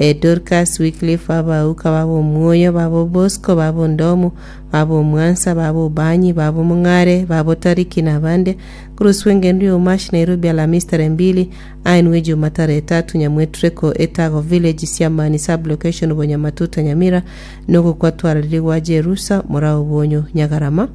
eh, Dorcas, Wycliffe, baba Auka, baba Omwoyo, baba Bosco, baba Ondomu, baba Omwansa, baba Obanyi, baba Omong'are, baba Otariki na abande. Koroswa engendo ya Omashi Nairobi Alamisi tarehe mbili, aenwe Juma tarehe tatu Nyamwetureko, Etago Village, Siamani Sub-location, Bonyamatuta, Nyamira, nogokwa twararire gwa Jerusa, Morao Obonyo, Nyagarama.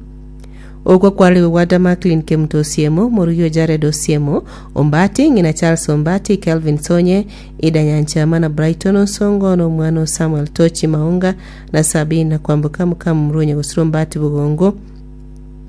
Okwo kwarigwe gwa Damaklin Kemuto Osiemo, morugi o Jared Osiemo, Ombati, ng'ina Charles Ombati, Kelvin Sonye, Ida Nyanchama na Brighton Onsongo, na omwana o Samuel Tochi Maunga, na Sabina na Kwamboka mokamomura o Nyagosira Ombati Bogongo,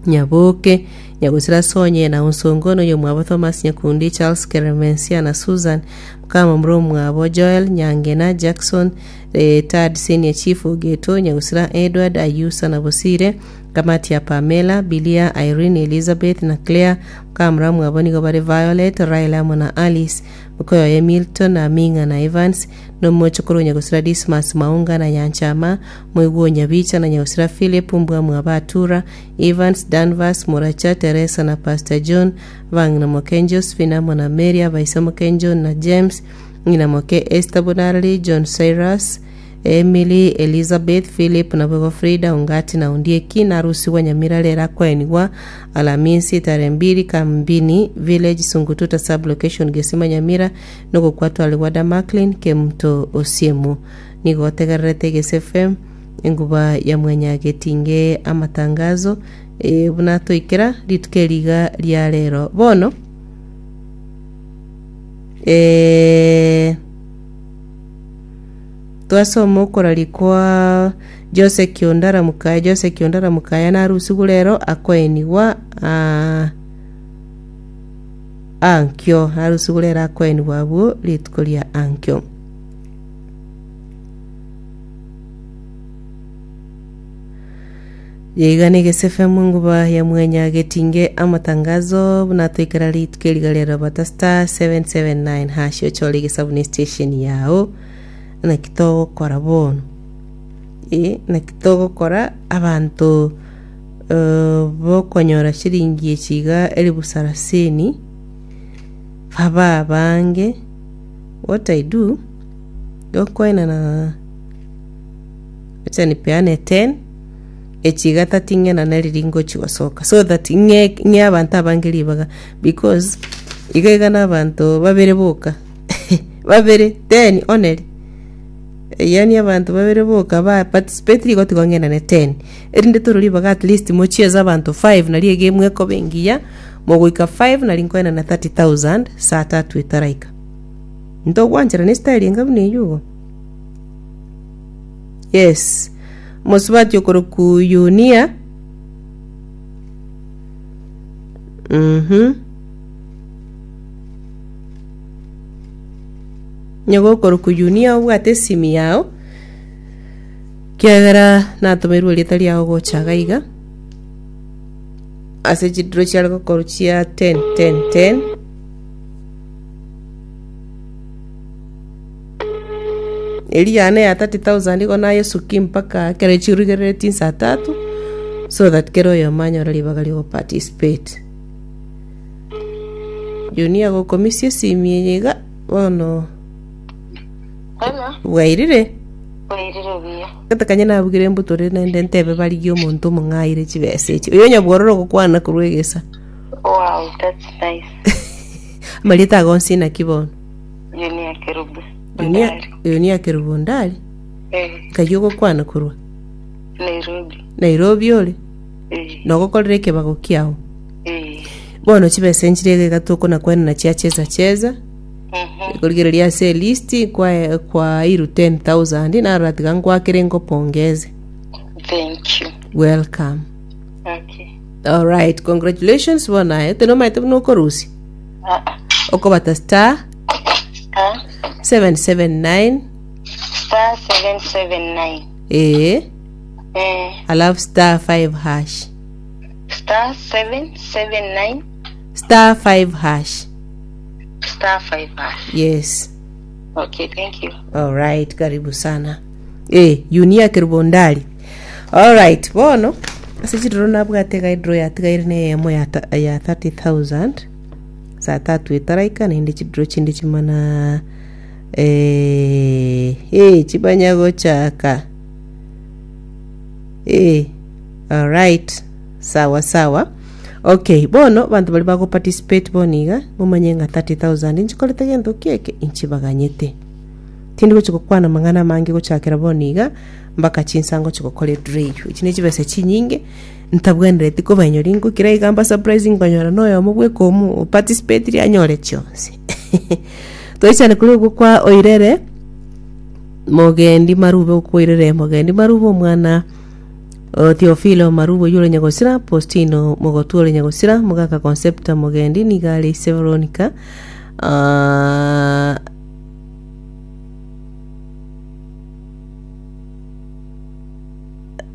Nyaboke, Nyagosira Sonye, na Onsongo, na oyomwabo Thomas Nyakundi, Charles Keremensia, na Susan, mokamomura omwabo Joel Nyangena, Jackson, Retired Senior Chief Ogeto, Nyagosira Edward, Ayusa na Bosire, Kamati ya Pamela, Bilia, Irene, Elizabeth, na Claire, mokamura mwabo nigo bare Violet, Raila amo na Alice, mokoyoye Milton, na Ming'a na Evans, na omochokoro o nyagosira Dismas Maunga na Nyanchama, moigwa o Nyabicha na nyagosira Philip, mbwa mwabo Atura, Evans, Danvers, Moracha, Teresa na Pastor John, abang'ina moke Josephine amo na Mary, abaise moke John na James, ng'ina moke Esther Bonareri, John Cyrus, Emily, Elizabeth, Philip, naboigo Frida, Ongati na Ondieki, narusigwa Nyamira rero akoenigwa Alamisi tarehe mbili Kambini Village Sungututa Sub Location Gesima Nyamira nogokwatwarigwa Damaklin Kemunto Osiemo. Nigo otegererete Egese FM enguba ya mwanyagetinge amatangazo eh, buna toikera rituko eri iga ria rero bono eh, Twasoma okoraria kwa Jose Kiondara Mukaya. Jose Kiondara Mukaya narusigwe rero akoenigwa ah, ankio narusigwe rero akoenigwa abwo rituko ria ankio. Yaiga negese FM enguba ya mwenya getinge amatangazo buna toikera rituko eriga ria Robert star 779 hash ochore egesabu ne station yao naki togokora bono eh naki togokora abanto eh, bokonyora shiringi echi iga elifu sarasini babe abange what I do gokoenana Acha nipeane 10 echi iga tating'ena neri ringochi gosoka so that ng'e ng'e abanto abange ribaga because iga iga na abanto babere boka babere 10 only yaani abanto babere boka ba participate rigo tigo ng'enane 10 erinde tore ribaga at least mochieze abanto 5 nari egame ekoba engiya mogoika 5 nari nkoenana 30000 saa tatu etaraika ntogwancherana estyle enga buna eywo igo. Yes. Omosubati okorokwa Yunia. Mhm. Onye gokorokwa Yunia obwate esimi yao, kiagera natomerwe erieta riao gocha iga iga, ase chidiro chiare gokorwa chia 10 10 10. Eria yane ya 30,000 igo nayesukia mpaka ekero chirugereretie insa tatu so that kera oyomo anyore ribaga ria ogoparticipate. Junior agokomisia esimi eye iga bono Hello, bwairire bwairire buya. gete kanye nabugire embutore naende ntebe barigie omonto omong'aire chibesa echi oyo onye bwororo ogokwana korwa egesa Wow, that's nice. amarieta ago onsi naki bono Junia Kerubo. Junia, Ndari. Junia Kerubo Ndari Eh, nkai ogokwana korwa Nairobi. Nairobi ore Eh, nogokorera ekebago kiao eh. bono chibesa enchire iga iga tokona kwenana chia cheza cheza Mhm. korigereria ase elist kwa kwairu 10000 narora tiga nkwakere nkopongeze Thank you. welcome Okay. alright congratulations bono aye tenomaete buna okorusia Ah, ah. Okobata star Star 779 star 779. ee Eh, alafu star 5 hash star 779 star 5 hash star 5 hash. yes Okay, thank you. Alright, karibu sana. Eh, Yunia Kerubondari. Alright, bono ase chidoro nabwate iga edro yatigaire na eyemo ya, ta- ya 30000 saa tatu etaraika naende chidro chinde chimana eh, Eh, chibanya gochaka. Eh, alright. Sawa sawa. Okay, bono banto bari bago participate bono iga, momanye ng'a 30,000 nchikorete gento ki eke inchibaganyete. Tindi gochi gokwana amang'ana amange gochakera bono iga mpaka chinsa ngochi gokora edraw eywo. Echi ne chibesa chinyinge ntabwenereti kobainyoria ngokira iga mba surprise nkonyora na oyomo bweka omo oparticipatiri anyore chionsi. Toichane koria okwo kwa oirere mogendi marube okwo oirere mogendi marube omwana o Theophilo marube oyio ore nyagosira, Postino mogotwa ore nyagosira, mogaka Concepta mogendi nigo are ise Veronica ah,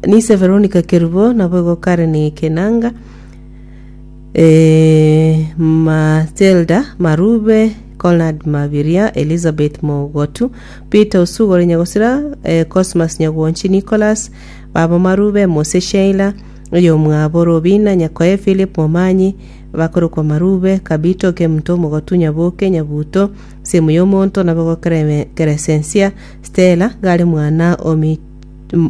Nise Veronica Kerubo naboigo Karen Kenanga eh, Matilda Marube Conrad Mabiria Elizabeth Mogotu Peter Osugore Nyagosira eh, Cosmas Nyagwonchi Nicholas Babo Marube Mose Sheila oyomwabo Robina Nyakoe Philip Momanyi bakorokwa Marube Kabito Kemunto Mogotu Nyaboke Nyabuto Semu y'omonto naboigo Keresensia Stella gare mwana o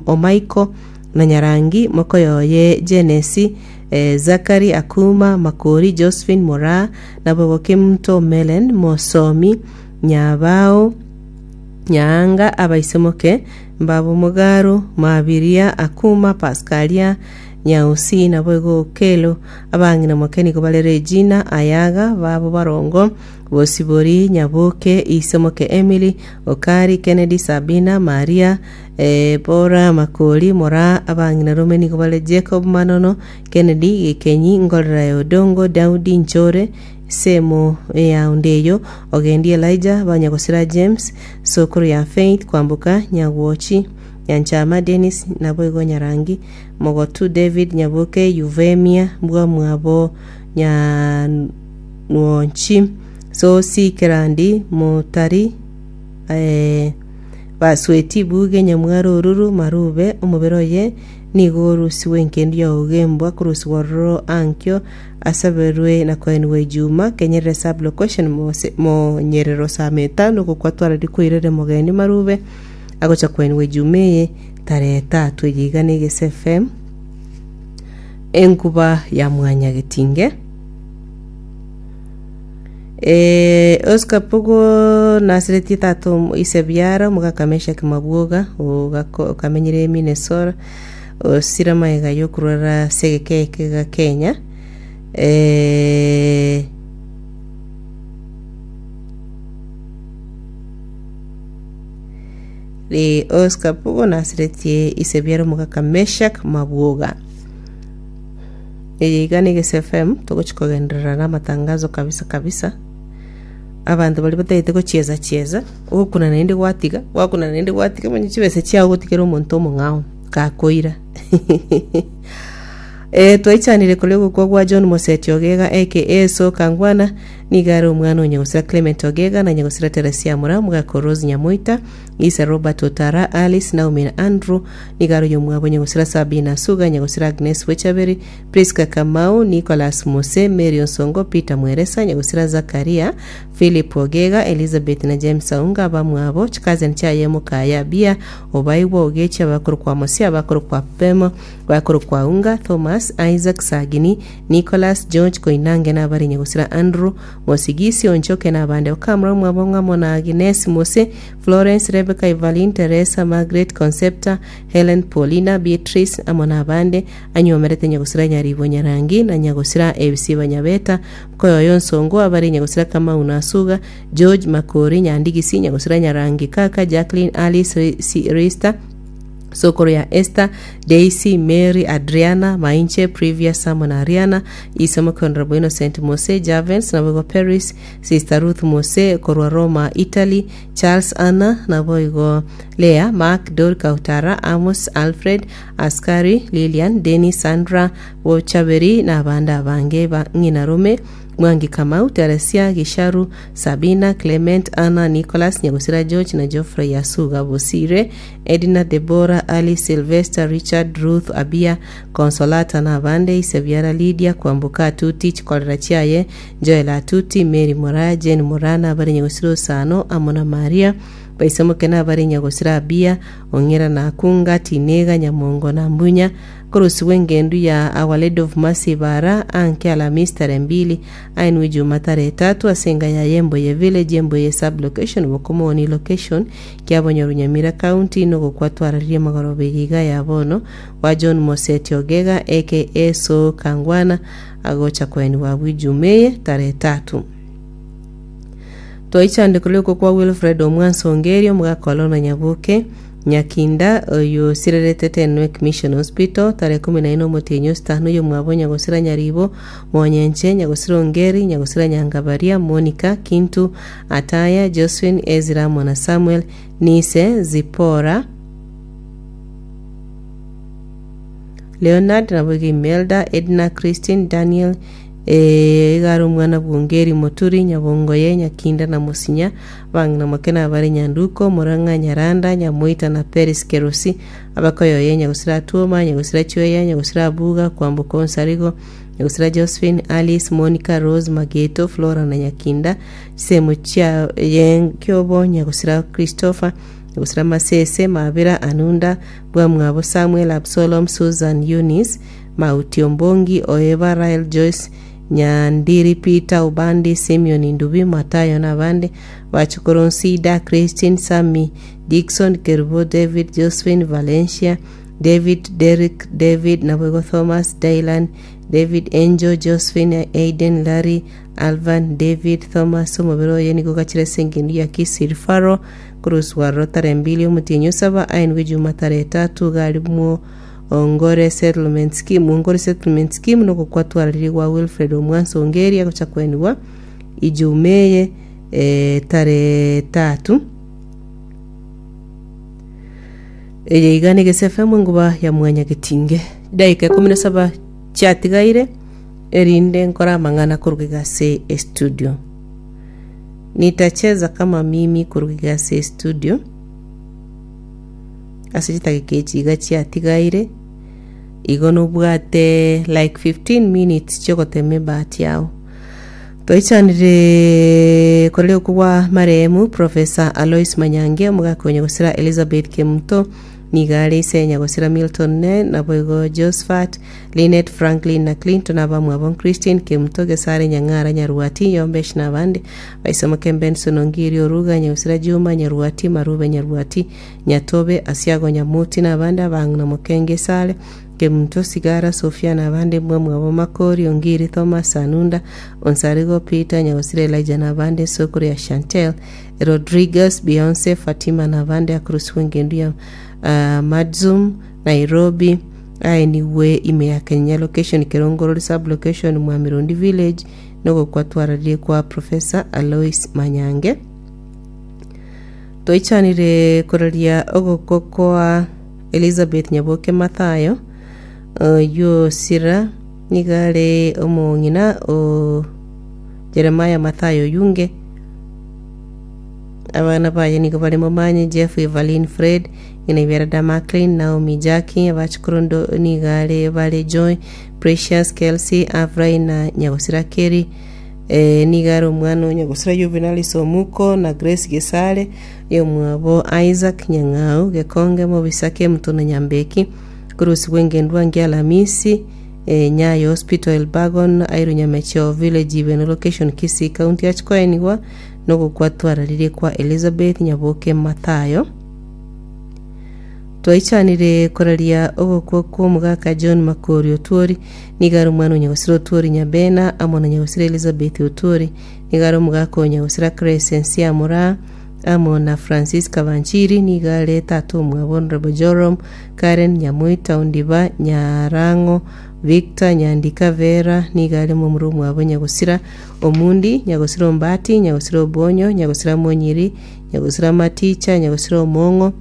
o Michael na Nyarangi mokoyoye Jenesi eh, Zachary Akuma Makori Josephine Moraa naboigo Kemunto Melen Mosomi Nyabao Nyaanga abaisemoke mbabo Mogaro Mabiria Akuma Pascalia Nyausi naboigo Okelo abang'ina moke nigo bare Regina Ayaga babo Barongo Bosibori Nyaboke Isemoke Emily Okari Kennedy Sabina Maria eh, Bora Makori Moraa abang'ina rome nigo bare Jacob Manono Kennedy Gikenyi Ngorera ya Odongo Daudi Nchore Semo ya Ondeyo Ogendi Elijah Banyagosira James Sokoro ya Faith Kwamboka Nyagwochi Nyanchama Dennis naboigo Nyarangi Mogotu David Nyaboke Yuvemia Mbwamwabo Nyanwonchi Sosi Kerandi Motari eh, Basweti Buge Nyamwaro Oruru Marube omobere oye nigo orusigwe enkendu ya ogembwa korusigwa ororo ankio asaberwe na koenigwa ijuma kenyerere sub location mose monyerero saa metano gokwa twarari koirere mogeni Marube agocha koenigwa ijuma eye tarehe tatu eye iga na Egese FM enkuba ya mwanyagetinge. Eh, Oscar Pugo nasiretie tata omo- ise biara omogaka Meshak Mabwoga ogako- okamenyire Minnesota osire amaiga yokorwara ase egeka eke ga Kenya eh, Ri Oscar Pugo nasiretie ise biara omogaka Meshak Mabwoga. Eye iga ne Gese FM togochi kogenderera na amatangazo kabisa kabisa. Abanto baria batagete gochieza chieza, ogokuna naende gwatiga, gwakuna naende gwatiga manya chibesa chiao ogotigera omonto omong'ao gakoira. Eh, twaichanire koria ogokwa gwa John Moseti Ogega aka Soka Ngwana nigo are omwana o Nyagosira Clement Ogega na Nyagosira Teresia Mura, omogaka o Rose Nyamoita, Isa Robert Otara, Alice, Naomi na Andrew, nigo are oyomwabo Nyagosira Sabina Suga, Nyagosira Agnes Bwechaberi, Prisca Kamau, Nicholas Mose, Mary Onsongo, Peter Mweresa, Nyagosira Zakaria, Philip Ogega, Elizabeth na James Aunga, abamwabo, chikazeni chiaye Mokaya Abia, Obaigwa Ogechi, abakorokwa Mosia, abakorokwa Pemo, Bakorokwa Aunga, Thomas, Isaac, Sagini, Nicholas, George, Koinange na abare Nyagosira Andrew, Mosigisi, Onchoke na abande. Okamura omwabo ng'amo na Agnes, Mose, Florence, Rebecca, Evaline, Teresa, Margaret, Concepta, Helen, Paulina, Beatrice, amo na abande. Anyuomerete Nyagosira Nyaribo Nyarangi na Nyagosira Ebisiba Nyabeta, Mkoyoyo Nsongo, abare Nyagosira Kamau na Asuga, George, Makori, Nyandigisi, Nyagosira Nyarangi, Kaka, Jacqueline, Alice, Rista, Sokoro ya Esther, Daisy, Mary, Adriana, Mainche, Privia, Samo na Ariana, Ise moke Honorable Innocent Mose, Javens, naboigo Paris, Sister Ruth Mose, korwa Roma, Italy, Charles Anna, naboigo Leah, Mark, Dorika Utara, Amos, Alfred, Askari, Lilian, Dennis, Sandra, Bochaberi, na abande abange ba ng'ina Rome, Mwangi Kamau, Teresia, Gisharu, Sabina, Clement, Anna, Nicholas, Nyagosira George na Geoffrey Asuga Bosire, Edna, Debora, Alice, Sylvester, Richard, Ruth, Abia, Consolata na abande, Isebiara Lydia, Kwamboka Atuti, Chikorera chiaye, Joel Atuti, Mary Moraa, Jane Moraa na abare Nyagosira Osano amo na Maria. Baisemoke nabare nyagosira Abiya, Ong'era na Akunga, Tinega, Nyamongo na Mbunya, Korosigwa engendu ya Our Lady of Mercy Bara, Anke Alamisi tarehe mbili, Ainwe Ijuma tarehe tatu, ase enga ya Yemboye Village, Yemboye Sub-location, Bokomoni Location, Kiabonyoru Nyamira County, nogokwa twararirie magoroba eye iga ya bono, gwa John Moseti Ogega aka Soo Kangwana, agocha koenigwa abwo Ijuma eye tarehe tatu. Twaichandekire rioko kwa Wilfred Omwansa Ongeri, omogaka o Lorna Nyaboke, Nyakinda, oyio osirerete Tenwek Mission Hospital, tarehe ikomi na ine omotienyi o sitano, oyomwabo Nyagosira Nyaribo, Monyenche, Nyagosira Ongeri, Nyagosira Nyangabaria, Monica, Kintu, Ataya, Josephine, Ezra amo na Samuel, Nise, Zipporah, Leonard, naboigo Imelda, Edna, Christine, Daniel, Ee, iga are omwana bw'Ongeri, Moturi, Nyabongoye, Nyakinda na Mosinya, abang'ina moke nabare Nyanduko, Morang'a, Nyaranda, Nyamoita na Peris Kerosi, abakoyoye Nyagosira Atuoma, Nyagosira Chweya, Nyagosira Abuga, Kwamboka Onsarigo, Nyagosira Josephine, Alice, Monica, Rose, Mageto, Flora na Nyakinda, chisemo chia Kiobo, Nyagosira Christopher, Nyagosira Masese, Mabira, Anunda, Bwamwabo Samuel, Absalom, Susan, Eunice, Mauti Ombongi, Oeba, Rael Joyce, Nyandiri Peter, Obandi, Simeon Ndubi, Matayo na abande, Bachukuru Nsida, Christine, Sammy, Dickson, Kerubo, David, Josephine, Valencia, David, Derrick, David, naboigo Thomas, Dylan, David, Angel, Josephine, Aiden, Larry, Alvan, David, Thomas, omobere oye nigo ogachire ase engendu ya Kisii Referral, koroswa aroro tarehe mbili omotienyi osaba, aenigwe Juma tarehe etato, iga arimwo Ongore Settlement Scheme Ongore Settlement Scheme nogokwatwararirie gwa Wilfred Omwansa Ongeri agocha kwenigwa Ijumaa eye eh, tarehe tatu. Eye iga ne FM enguba ya mwanyagetinge. Dakika ikomi na saba chiatigaire erinde nkore amang'ana koruga iga ase estudio. Nitacheza kama mimi koruga iga ase estudio. Ase chidakika echi iga chiatigaire, igo nobwate like 15 minutes chiogotema ebahati yao. Twaichanire koreria okwo gwa marehemu Professor Alois Manyange, omogaka o Nyagosira Elizabeth Kemunto, nigo are ise Nyagosira Milton Ne, naboigo Josephat, Linet, Franklin na Clinton, abamwabo Christine Kemunto, Gesare Nyang'ara, Nyarwati, Yombesh na abande, Baisomoke Benson Ongiri Oruga, Nyagosira Juma, Nyarwati, Marube Nyarwati, Nyatobe, Asiago Nyamuti na abande abang'ina Mokenge Sale, Kemunto, Sigara, Sofia na abande mbwamwabo Makori, Ongiri, Thomas, Anunda, Onsarigo, Peter, Nyagosira Elijah na abande Sokoro ya Chantel, Rodriguez, Beyonce, Fatima na abande Akorosigwa engendu ya ah, Madzum, Nairobi, aenigwe ime ya Kenya location Kerongorori sub location Mwamirondi village nogokwa twararie kwa Professor Alois Manyange. Toichanire koraria ogokwa kwa Elizabeth Nyaboke Mathayo, oyio Sira nigo are omong'ina o Jeremiah Mathayo Oyunge. Abana baye nigo bare Momanyi, Jeff, Evaline, Fred, ng'ina Iberada Maclean, Naomi, Jackie, abachukuru ndo nigo are bare Joy, Precious, Kelsey, Avrai na Nyagosira Kerry. Ee, nigo are omwana o Nyagosira Juvenalis Omuko na Grace Gesare, oyomwabo Isaac Nyang'au, Gekonge, Mobisa, Kemuto na Nyambeki, Korusigwa engendwa ngia Alamisi, eh, Nyayo Hospital Elbagon, Airu Nyamecheo Village Ibeno Location Kisii County achia koenigwa nogokwa twararirie kwa Elizabeth Nyaboke Mathayo. Twaichanire koraria ogokwa kw'omogaka John Makori Otwori, nigo are omwana o Nyagosira Otwori Nyabena amo na Nyagosira Elizabeth Otwori, nigo are omogaka o Nyagosira Crescencia Moraa amo na Francisca Banchiri, nigo are tata omwabo Honourable Joram, Karen Nyamoita Ondiba Nyarang'o, Victor Nyandika Vera, nigo are momura omwabo Nyagosira Omundi, Nyagosira Ombati, Nyagosira Obonyo, Nyagosira Monyiri, Nyagosira Maticha, Nyagosira Omong'o,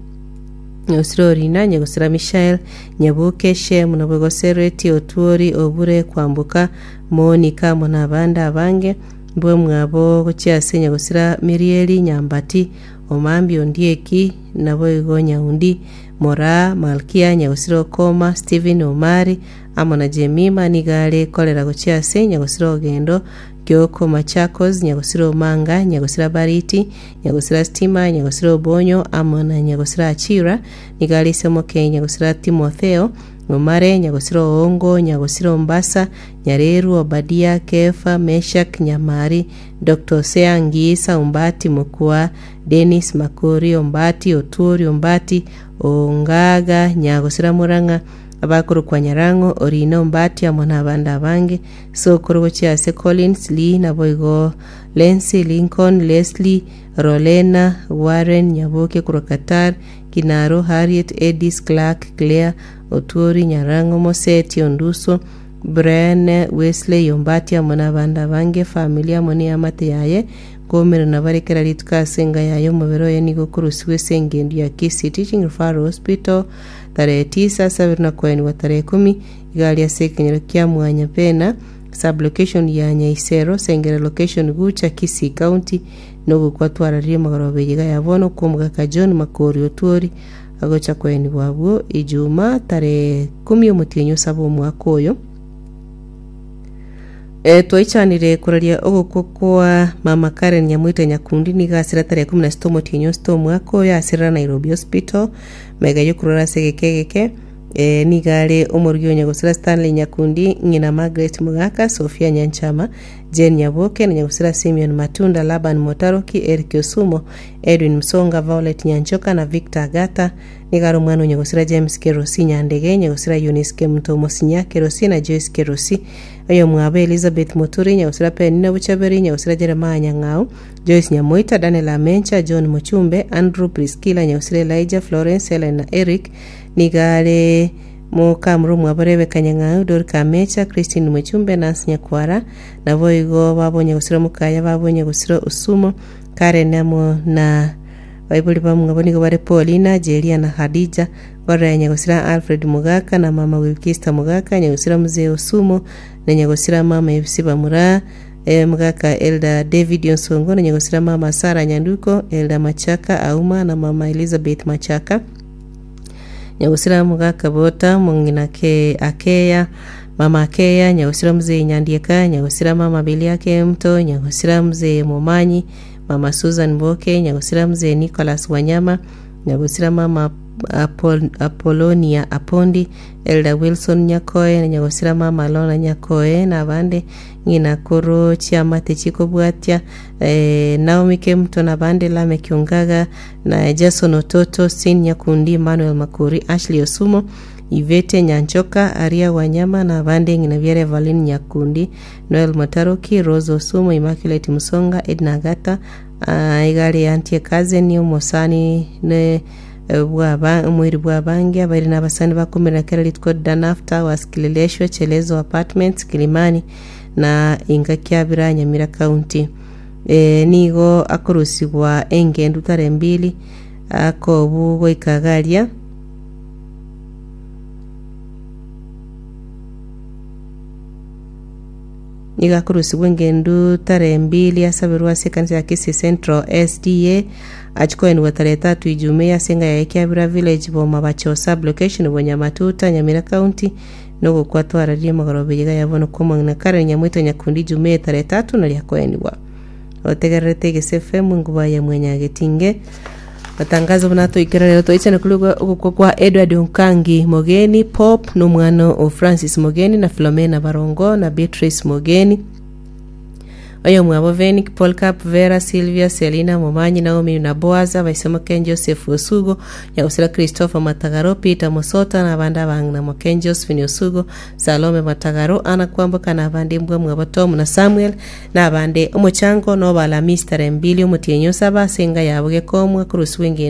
Nyagosira Orina, Nyagosira Mishael, Nyabuke, Shemu, naboigo Sereti, Otuori, Obure, Kwamboka, Monika, amo nabande abange, mbwe mwabo gochia ase Nyagosira Mirieli, Nyambati, Omambia, Ondieki, naboigo Nyaundi, Moraa, Malkia, Nyagosira Okoma, Stephen, Omari, amo na Jemima, nigo are korera gochia ase Nyagosira Ogendo, Kioko Machakos, Nyagosira Omanga, Nyagosira Bariti, Nyagosira Stima, Nyagosira Obonyo, amo na Nyagosira Achira, nigo are ise omoke Nyagosira Timotheo, Omare, Nyagosira Oongo, Nyagosira Ombasa, Nyareru, Obadia, Kefa, Meshak, Nyamari, Doctor Hosea Ngisa, Ombati, Mokua, Dennis, Makori, Ombati, Otuori, Ombati, Ongaga, Nyagosira Murang'a, abakorokwa Nyarang'o, Orina, Ombati, amo nabande abange. Sokoro gochia ase Collins, Lee, naboigo Lency, Lincoln, Leslie, Rolena, Warren, Nyaboke korwa Qatar, Kinaro, Harriet, Edis, Clark, Claire, Otuori, Nyarang'o, Moseti, Onduso, Brian, Wesley, Ombati amo nabande abange, efamiri amo neamate yaye, nkoumerana bare kera rituko ase enga yaye omobere oye nigo okorusigwa ase engendu ya Kisii Teaching Referral Hospital tarehe tisa ase abere na koenigwa tarehe ikomi iga aria ase ekenyoro kia Mwanyapena sub-location ya Nyaisero Sengere location Gucha Kisii County nogokwa twararirie magoroba eye iga ya bono kw'omogaka John Makori Otwori agocha koenigwa abwo Ijumaa tarehe ikomi omotienyi osaba omwaka oyo. Eh, twaichanire koraria ogokwa kwa mama Karen Nyamoita Nyakundi nigo asira tarehe 16 omotienyi osita omwaka oyo asirera Nairobi Hospital mega yokorwara ase egeka egeke eh, nigo are omorugi o Nyagosira Stanley Nyakundi ng'ina Margaret Mogaka Sophia Nyanchama Jane Nyaboke na Nyagosira Simeon Matunda Laban Motaroki Eric Osumo Edwin Msonga Violet Nyanchoka na Victor Agata Nigo are omwana o Nyagosira James Kerosi Nyandege, Nyagosira Eunice Kemunto Omosinya Kerosi na Joyce Kerosi. Oyomwabo Elizabeth Moturi, Nyagosira Penina Bochaberi, Nyagosira Jeremiah Nyang'au, Joyce Nyamoita, Daniel Amencha, John Mochumbe, Andrew Priscilla, Nyagosira Elijah, Florence, Helen na Eric. Nigo are mokamura omwabo Rebecca Nyang'au, Dorika Amecha, Christine Mochumbe, Nancy Nyakwara, naboigo babo Nyagosira Mokaya, babo Nyagosira Osumo, Karen amo na Baibori bamwabo nigo bare Paulina, Jeria na Hadija, Gorera nyagosira Alfred Mogaka na mama Wilkista Mogaka, nyagosira Mzee Osumo na nyagosira mama Ebisi Bamura, Mogaka Elder David Onsongo na nyagosira mama Sarah Nyanduko, Elder Machaka Auma na mama Elizabeth Machaka, nyagosira Mogaka Bota, mong'ina ke Akeya, mama Akeya, nyagosira Mzee Nyandieka, nyagosira mama Belia Kemto, nyagosira Mzee Momanyi, Mama Susan Boke, nyagosira Mzee Nicholas Wanyama, nyagosira Mama Apol, Apollonia Apondi, Elder Wilson Nyakoe, na nyagosira Mama Lorna Nyakoe, na abande ng'ina koro chiamate chikobwatia eh, Naomi Kemuto na abande Lameck Ongaga na Jason Ototo, Sin Nyakundi, Emmanuel Makori, Ashley Osumo, Yvette Nyanchoka, Aria Wanyama na abande ng'ina biare Evelyn Nyakundi, Noel Motaroki, Rose Osumo, Immaculate Musonga, Edna Agata, ah, iga are Auntie Cousin omosani ne bw'aba omoiri bw'abange abairi na abasani bakomerera kera rituko Danaf Towers, Kileleshwa, Chelezo Apartments, Kilimani na inka Kiabira Nyamira County. Eh, nigo akorusigwa engendu tarehe mbili akobu goika garia Nigo akorusigwa engendu tarehe mbili asaberwe ase ekanisa ya Kisii Central SDA achie koenigwa tarehe tatu Ijumaa ase enga yaye Kiabira Village Boma Bacho Sub Location Bonyamatuta Nyamira County nogokwa twararie magoroba eyeiga ya bono kw'omong'ina Karen Nyamwito Nyakundi Ijumaa tarehe tatu nario akoenigwa. Otegererete Egese FM enguba ya Mwanyagetinge Matangazo buna toikera rero toichane kuri ogokwa kwa Edward Onkangi Mogeni Pop nomwana o Francis Mogeni na Philomena Barongo na Beatrice Mogeni oyomwabo Venick Polcap Vera Sylvia Selina Momanyi Naomi na Boaz abaisemoke Joseph Osugo Nyagosira Christopher Matagaro Peter Mosota na abande abang'ina moke Josephine Osugo Salome Matagaro Anna Kwamboka na abande mbwa mwabo Tom na Samuel Na abande omochango noba Alamisi tarehe mbili omotienyi osaba ase enga yabo gekomwa korusigwa engendo.